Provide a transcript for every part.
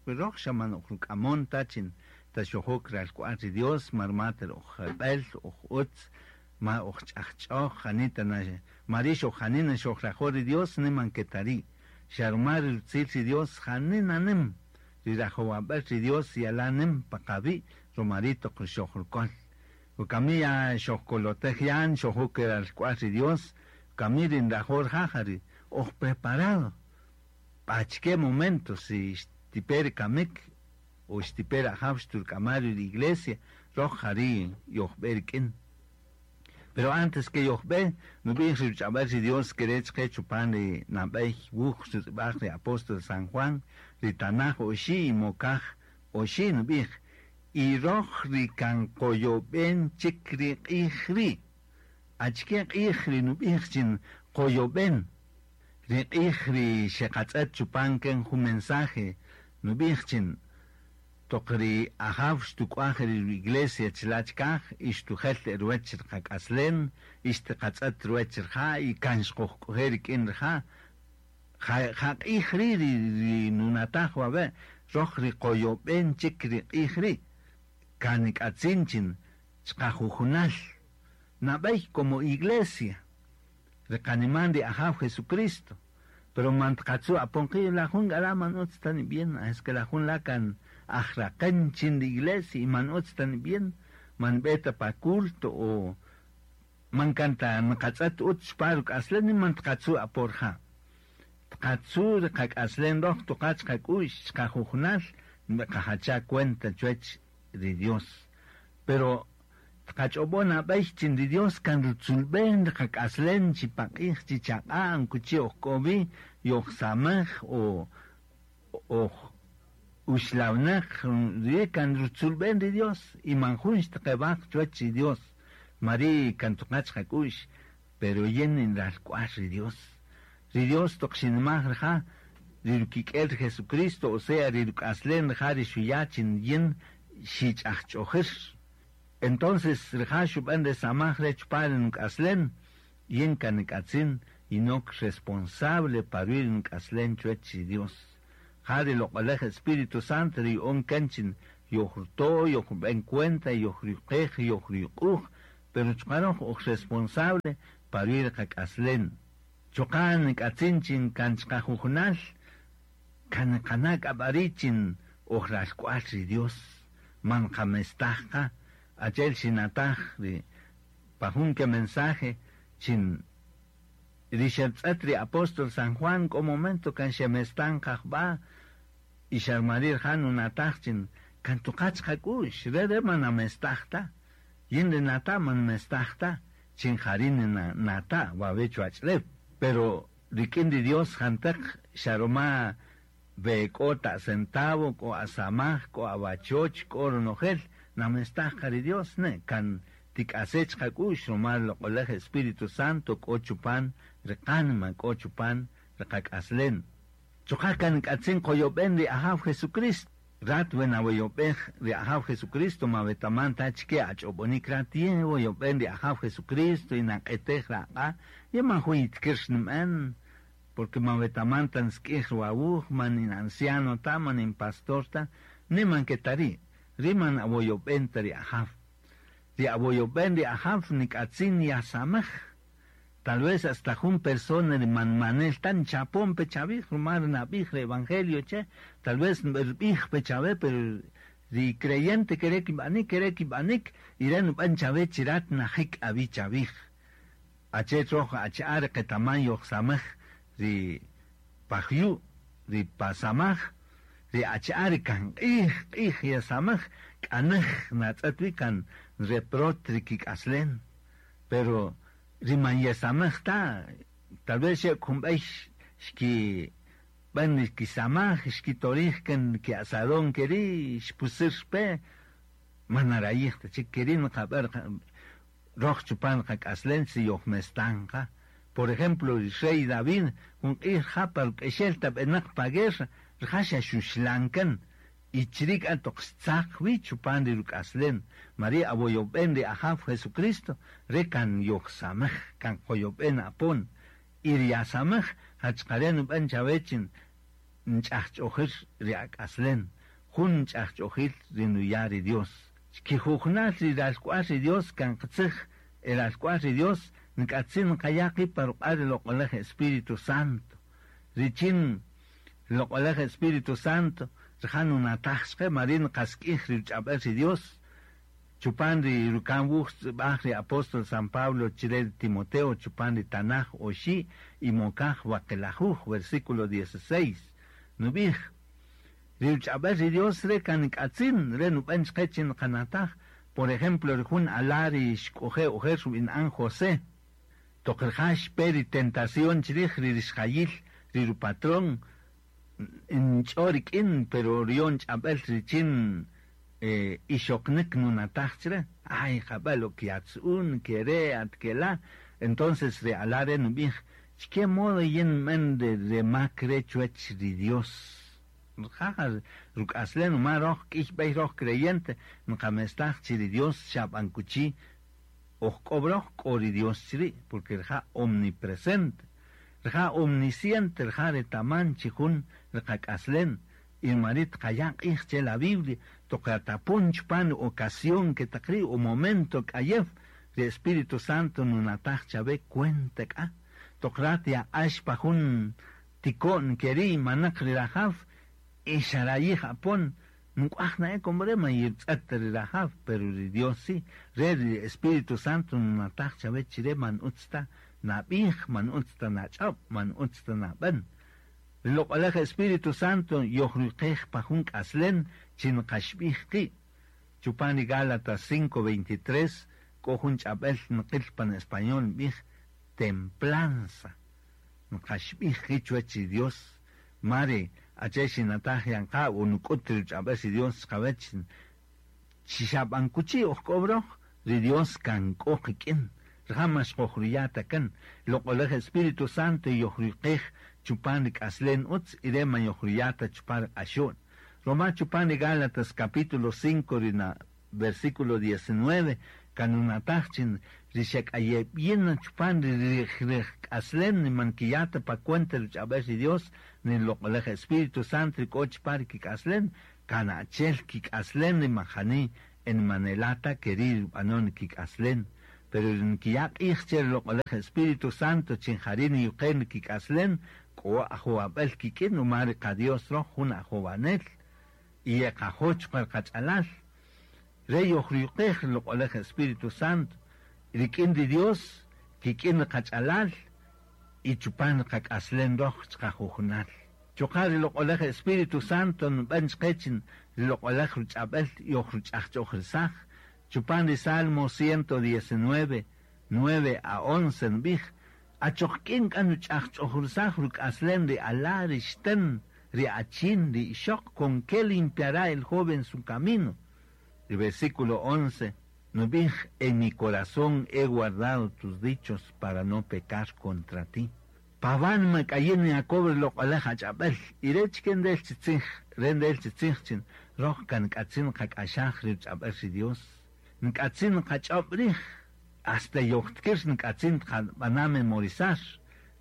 Röj xa man oj ruk'amon ta chin ta xojok ralk'wa'l ri Dios, ma ruma ta ri oj jeb'ël, oj ütz, ma oj ch'ajch'öj, janita na, ma ri' xoj janina xojrajo' ri Dios, ni man ke ta ri'. Xa ruma ri rutzil ri Dios janina nïm, ri rajowab'äl ri Dios yalan nïm pa qawi' ruma ri' toq xojruköl. Wakami ya xojkolotej yan, xojok ralk'wa'l ri Dios, wakami ri nrajo' rija' ja ri oj preparado. Achike momento si xtipe ri kamik o xtipe ri Ajaw xturk'ama' ri iglesia, röj ja ri' yojb'e rik'in. Pero antes ke yojb'e, nub'ij ri ruch'ab'äl ri Dios ke re' chqe chupan ri nab'ey wuj xutz'ib'aj ri apóstol San Juan, ri tanaj oxi' y mokaj oxi' nub'ij, Y röj ri kan qoyob'en chik ri q'ij ri'. Achike q'ij ri nub'ij chi qoyob'en? Ri q'ij ri xeqatz'ët chupan ken jun mensaje nub'ij chi toq ri Ajaw xtuk'waj ri ru-iglesia chila' chikaj y xtujel e ruwäch ri qak'aslen y xtiqatz'ët ruwäch rija' y kan xqojk'oje' rik'in rija'. Ja, ja q'ij ri' ri nunataj wawe' röj ri qoyob'en chik ri q'ij ri', kan nik'atzin chi chqajujunal, nab'ey como iglesia, ri qaniman ri Ajaw Jesucristo. Pero man tqatzu' apon qi', la jun k'a la' man ütz ta nib'in, es que la jun la' kan ajraqän chin ri iglesia y man ütz ta nib'in, man nb'e ta pa culto o man kan ta nqatz'ët ütz xpa ruk'aslen ni man tqatzu' apo rija'. Tqatzu' ri qak'aslen röj toqa chqak'u'x chqajujunal nb'eqajacha' cuenta chuwäch ri Dios. Pero tqach'ob'o' nab'ey chin ri Dios kan rutzulb'en ri qak'aslen chi paq'ij chi chaq'a' nkuchi' oj k'o wi, yojsamäj o oj uxlawnäq, ri kan rutzulb'en ri Dios y man jun xtqewaj chuwäch ri Dios. Ma ri' kan toqa chqak'u'x, pero yin in ralk'wa'l ri Dios. Ri Dios toq xinimaj rija', ri rukik'el ri Jesucristo, o sea, ri ruk'aslen rija' ri xuya' chin yin xich'ajch'ojir. Entonces rija' xub'en re samaj re' chupan ri nuk'aslen, yin kan nik'atzin yinok responsable pa ruwi' ri nuk'aslen chuwech ri Dios. Ja ri Loq'olej Espíritu Santo ri ya'on kan chin yojruto', yojrub'en cuenta, yojruyuqej, yojruyuq'uj, pero chuqa' röj oj responsable pa ruwi' ri qak'aslen. Chuqa' nik'atzin chin kan chqajujunal kan niqana' k'a b'a ri' chin oj ralk'wa'l ri Dios, man nqamestaj qa, achi'el xinataj ri pa jun ke mensaje chin ri xertz'ët ri apóstol San Juan k'o momento kan xemestan qa jb'a' y xa rma ri' rija' nunataj chin kan tuqa' chqak'u'x, re' re' man namestaj ta, yin ri nata' man nmestaj ta. Chin jari' nata' wawe' chuwach'ulew. Pero rik'in ri Dios janteq xa roma we k'o ta centavo, k'o asamaj, k'o awachoch, k'o ronojel, namestaj qa ri Dios, ne, kan tik'ase' chiqak'u'x roma ri Loq'olej Espíritu Santo k'o chupan ri qánima, k'o chupan ri qak'aslen. Chuqa' kan nk'atzin qoyob'en ri Ajaw Jesucristo. Rat we nawoyob'ej ri Ajaw Jesucristo ma wetaman ta achike ach'ob'onik rat yin woyob'en ri Ajaw Jesucristo y naq'etej ra aq'a', yin man jun yitikir xnib'en, porque man wetaman ta nsik'ij ruwawuj, man in anciano ta, man in pastor ta, ni man ke ta ri', ri man awoyob'en ta ri Ajaw. Ri awoyob'en ri Ajaw nik'atzin yasamej. Tal vez hasta jun persona ri man manel ta nchapon pe chawij ruma ri nab'ij ri evangelio che, tal vez nb'erb'ij pe chawe, pero ri creyente kere' kib'anik, kere' kib'anik, y re' nub'än chawe chi rat najik awi' chawij. Achi'el röj achi'a' ri qetaman yojsamaj ri pa jyu', ri pa samaj, ri achi'a' ri kan q'ij q'ij yesamaj, k'a näj natz'ët wi kan nreprot ri kik'aslen. Pero ri man yesamaj ta, tal vez xe jun b'ey xkib'än ri kisamaj, xkitorij kan ki'asadón ke ri', xpusir pe, man narayij ta chik ke ri' nqab'än röj chupan qak'aslen si yojmestan qa. Por ejemplo, ri rey David jun q'ij rija' pa ruk'exel ta b'enäq pa guerra, rija' xa xuxlan kan. Y chiri' k'a toq xtzaq wi chupan ri ruk'aslen, ma ri' awoyob'en ri Ajaw Jesucristo, re' kan yojsamej, kan qoyob'en apon. Y ri yasamej, ja chuqa' re' nub'en chawe chin Nch'ajch'ojir ri ak'aslen, jun nch'ajch'ojil ri nuya' ri Dios. Chkijujnal ri ralk'wal ri Dios kan qitzij e ralk'wal ri Dios, nk'atzin nqaya' qi' pa ruq'a' ri Loq'oläj Espíritu Santo. Richin ri Loq'oläj Espíritu Santo rija' nunataj chqë, ma ri' nqask'ij ri Ruch'ab'äl ri Dios. Chupan ri ruka'n wuj xtz'ib'aj ri apóstol San Pablo chre ri Timoteo chupan ri tanaj oxi' y mokaj waqlajuj, versículo dieciséis, nub'ij, Ri Ruch'ab'äl ri Dios re' kan nk'atzin, re' nub'än chqë chi nqanataj. Por ejemplo, ri jun ala' ri xk'oje' ojer rub'ina'an José. Toq rija' xpe ri tentación chrij ri rixjayil ri ru-patrón, nch'o rik'in, pero ryon ch'ab'äl richin ixoqnïk nunataj chre, Ay, jab'äl ok yatzu'un, ke re', at ke la'. Entonces ri ala' re' nub'ij, Chke modo yin nb'än re mak re' chuwäch ri Dios? Rija' ruk'aslen ruma röj k'ïy b'ey röj creyente nqamestaj chi ri Dios xa b'an kuchi oj k'o röj k'o ri Dios chri', porque rija' omnipresente, rija' omnisciente, rija' retaman chi jun ri qak'aslen. Y rma ri' tqaya' q'ij chë la Biblia toq yatapon chpan ri ocasión ke taq ri' o momento k'ayew, ri Espíritu Santo nunataj chawe cuenta k'a. Toq rat yaq'ax pa jun tiko'n ke ri' manäq ri rajaw y xarayij apon, nuk'waj na'e como re' man yirtz'ët ta ri rajaw, pero ri Dios sí. Re' ri Espíritu Santo nunataj chawe chi re' man ütz ta nab'ij, man ütz ta nach'öb', man ütz ta nab'än. Ri Loq'oläj Espíritu Santo yojruqej pa jun k'aslen chi nqaxb'ij qi'. Chupan ri Gálatas 5:23 k'o jun ch'ab'äl nqïl pan español nb'ij, Templanza. Nqaxb'ij qi' chuwäch ri Dios. Ma ri achi'el xinataj yan qa o nuk'üt ri ruch'ab'äl ri Dios chqawäch chi xa b'an kuchi' oj k'o röj, ri Dios kan k'o qik'in. Rija' ma xqojruya' ta kan. Loq'oläj Espíritu Santo yojruqej chupan ri k'aslen utz y re' ma yojruya' ta chupan ri q'axo'n. Roma chupan ri Gálatas capítulo 5 ri na versículo 19 kan nunataj chi ri xek'ayeb'yin na chupan ri ri k'aslen ni man nkiya' ta pa cuenta ruch'ab'äl ri Dios ni ri Loq'oläj Espíritu Santo ri k'o chupan ri kik'aslen, Kan achi'el kik'aslen ri majani e nimanela' ta ke ri' rub'anon ri kik'aslen. Pero ri nkiya' q'ij che ri Loq'oläj Espíritu Santo chi jari' niyuqen ri kik'aslen, k'o ajowab'äl kik'in ruma ri qa-Dios röj jun ajowanel y yeqajo' chuqa' ri qach'alal. Re' yojruyuqej ri Loq'oläj Espíritu Santo rik'in ri Dios, kik'in ri qach'alal y chupan ri qak'aslen röj chiqajujunal. Chuqa' ri Loq'oläj Espíritu Santo nub'än chqë chi ri Loq'oläj Ruch'ab'äl yojruch'ajch'ojrisaj. Chupan ri Salmo 119, 9 a 11 nub'ij, Achoq k'in k'a nuch'ajch'ojrisaj ruk'aslen ri ala', ri xtän, ri achin, ri ixöq, con qué limpiará el joven su camino? Ri versículo 11 nub'ij, En mi corazón he guardado tus dichos para no pecar contra ti. Pa wánima k'a yin Jacob ri loq'oläj ach'ab'äl, y re' chike ndel chi tzij, re' ndel chi tzij chi röj kan nk'atzin nqak'axaj ri ruch'ab'äl ri Dios, nk'atzin nqach'öb' rij, hasta yojtkir nk'atzin tqab'ana' memorizar,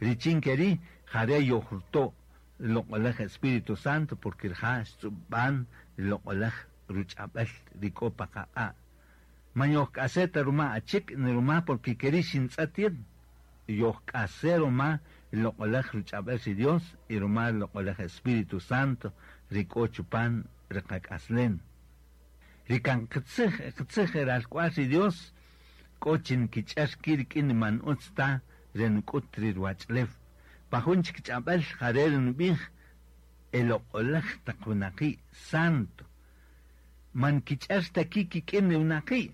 richin ke ri' ja re' yojruto' ri loq'oläj Espíritu Santo, porque rija' xtz'ub'an ri loq'oläj ruch'ab'äl ri k'o pa qaq'a'. Man yojk'ase' ta ruma achik' ni ruma porque ke ri' xintz'ët yin. Yojk'ase' ruma ri Loq'oläj Ruch'ab'äl ri Dios y ruma ri Loq'oläj Espíritu Santo ri k'o chupan ri qak'aslen. Ri kan qitzij e qitzij e ralk'wal ri Dios k'o chi nkich'är ki' rik'in ri man ütz ta re nuk'üt ri ruwach'ulew. Pa jun chik ch'ab'äl ja re' ri nub'ij, E loq'oläj taq winaqi', santo. Man nkich'är ta ki' kik'in ri winaqi',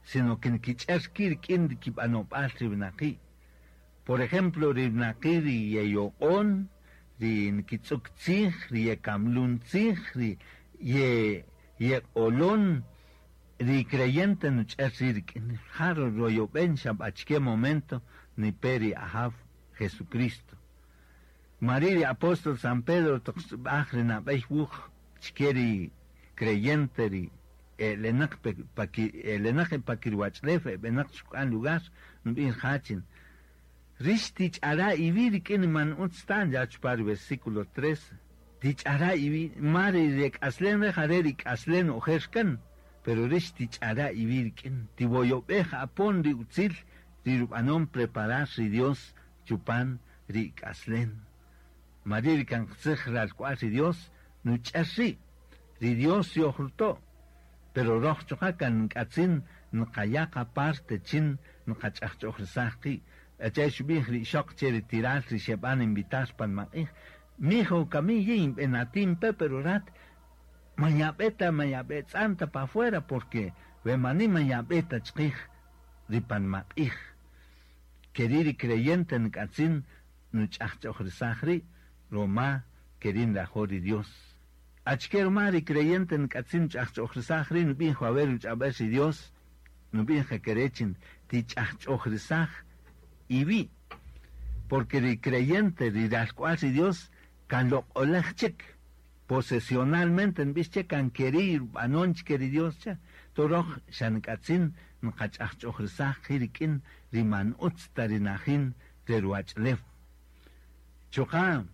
sino que nkich'är ki' rik'in ri kib'anob'al ri winaqi'. Por ejemplo, ri winaqi' ri yeyoq'on, ri nkitz'ük tzij, ri yekamlun tzij, ri ye yeq'olon, ri creyente nuch'är ri' rik'in. Ja royob'en xa b'a achike momento nipe ri Ajaw Jesucristo. Rma ri' ri apóstol San Pedro toq xtz'ib'aj ri nab'ey wuj chke ri creyente ri e'elenäq pe pa ki e'elenäq e pa kiruwach'ulew e b'enäq chuk'an lugar, nub'ij rija' chi, Rïx tich'ara' iwi' rik'in ri man ütz ta, ncha' chupan ri versículo 13. Tich'ara' iwi' ma ri rek'aslen re' jare' ri k'aslen ojer kan, pero rix tich'ara' iwi' rik'in, tiwoyob'ej apon ri utzil ri rub'anon preparar ri Dios chupan ri ik'aslen. Mari' ri kan qitzij ralk'wa'l ri Dios nuch'er ri', ri Dios yojruto', pero roj chuqa' kan nk'atzin nqaya' qa-parte chin nqach'ajch'ojrisaj qi'. Achi'el xub'ij ri ixöq che ri tiral ri xeb'an invitar pa nmaq'ij, Mijo, kami yin b'enatin pe, pero rat man yab'e ta, man yab'etz'an ta pa afuera, porque we mani man yab'e ta chqij ri pa nmaq'ij. Keri' ri creyente nk'atzin nuch'ajch'ojrisaj ri' roma keri' nrajo' ri Dios. Achike roma ri creyente nk'atzin nuch'ajch'ojrisaj ri' nub'ij wawe' ruch'ab'el ri Dios? Nub'ij qa kere' chin tich'ajch'ojrisaj iwi'. Porque ri creyente, ri ralk'wa'l ri Dios, kan loq'oläj chik. Posesionalmente nb'ix che kan keri' rub'anon chike ri Dios che. To röj xa nk'atzin nqach'ajch'ojrisaj qi' rik'in ri man ütz ta ri najin re ruwach'ulew. Chuqa'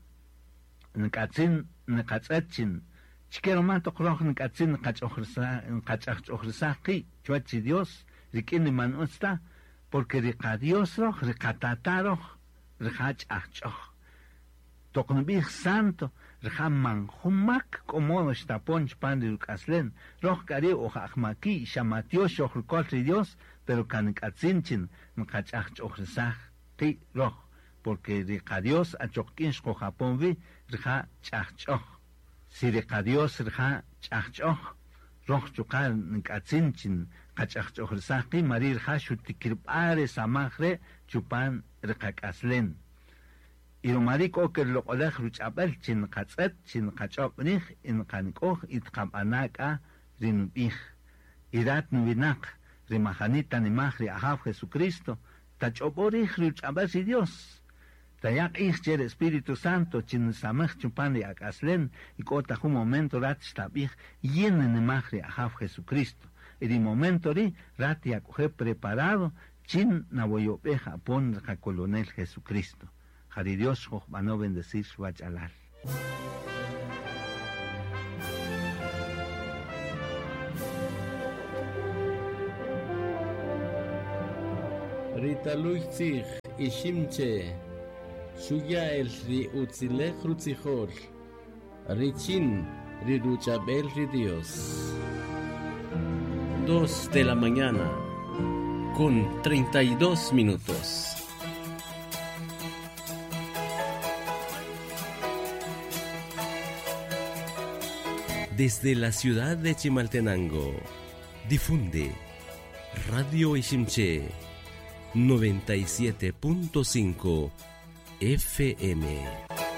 nk'atzin nqatz'ët chin chike ruma toq röj nk'atzin nqach'ajch'ojrisaj qi' chuwäch ri Dios rik'in ri man ütz ta, porque ri qa-Dios röj, ri qatata' röj, rija' ch'ajch'öj. Toq nb'ij santo, rija' man jun mak k'o modo xtapon chpan ri ruk'aslen. Röj k'a ri' oj ajmaki' xa matyox xojruköl ri Dios, pero kan nk'atzin chi nqach'ajch'ojrisaj qi' röj, porque ri qa-Dios achoq k'in xqojapon wi, rija' ch'ajch'öj. Si ri qa-Dios rija' ch'ajch'öj, röj chuqa' nk'atzin chi nqach'ajch'ojrisaj qi', mari' rija' xutikirb'a' re samaj re' chupan ri qak'aslen. Y ruma ri' k'o ke ruloq'oläj ruch'ab'äl chi nqatz'ët, chi nqach'öb' rij y nqanik'oj y tqab'ana' k'a ri nub'ij. Y rat nuwinaq, ri majani tanimaj ri Ajaw Jesucristo, tach'ob'o' rij ruch'ab'äl ri Dios. Taya' q'ij che ri Espíritu Santo chi nsamej chupan ri ak'aslen y k'o ta jun momento rat xtab'ij, Yin nnimaj ri Ajaw Jesucristo. Y ri momento ri' rat yak'oje' preparado chin nawoyob'ej apon ri qakolonel Jesucristo. Ja ri Dios xojb'ano bendecir wach'alal. Ri taluy tzij Iximche xuya' el ri utzilej rutzijol richin ri ruch'ab'el ri Dios. Dos de la mañana con 32 minutos. Desde la ciudad de Chimaltenango, difunde Radio Iximché 97.5 FM.